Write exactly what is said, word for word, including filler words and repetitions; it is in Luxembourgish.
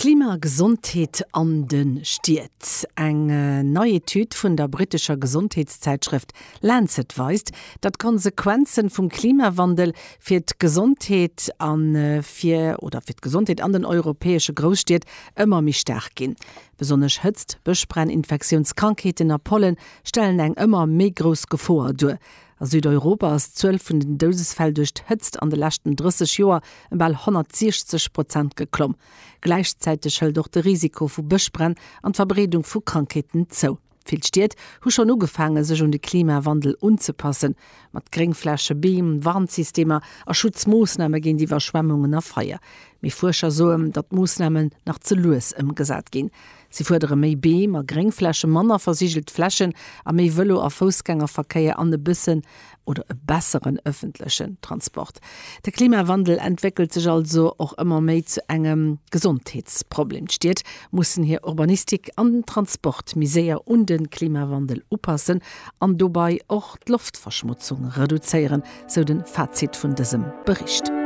Klima a Gesondheet an de Stied. Eng nei Etüd vun der brittescher Gesondheetszäitschrëft Lancet weist, datt d'Konsequenze vum Klimawandel fir d'Gesondheet a fir oder fir d'Gesondheet an den europäesche Grousstied ëmmer méi staark ginn. Besonnesch Hëtzt, Bëschbränn, Infektiounskrankheeten a Pollen stellen eng ëmmer méi grouss Gefoer duer. A Südeuropa ass d'Zuel vun den Doudesfäll duerch d'Hëtzt an de leschten drësseg Joer ëm bal honnertsiechzeg Prozent geklomm. Gläichzäiteg hëlt och de Risiko vu Bëschbränn an d'Verbreedung vu Krankheeten zou. Vill Stied hu schonn ugefaange sech un de Klimawandel unzepassen, mat Gréngfläche, Beem, Warnsystemer a Schutzmoossname géint Iwwerschwemmungen a Feier. Mee Fuerscher soen, datt d'Moossnamen nach ze lues ëmgesat ginn. Si fuerdere méi Beem a Gréngflächen, manner versigelt Flächen a méi Vëlo a Foussgängerverkéier an e bëssen oder e besseren ëffentlechen Transport. De Klimawandel entwéckelt sech also och ëmmer méi zu engem Gesondheetsproblem. D'Stied mussen hir Urbanistik an den Transport méi séier un de Klimawandel upassen an dobäi och d'Loftverschmotzung reduzéieren, sou de Fazit vun dësem Bericht.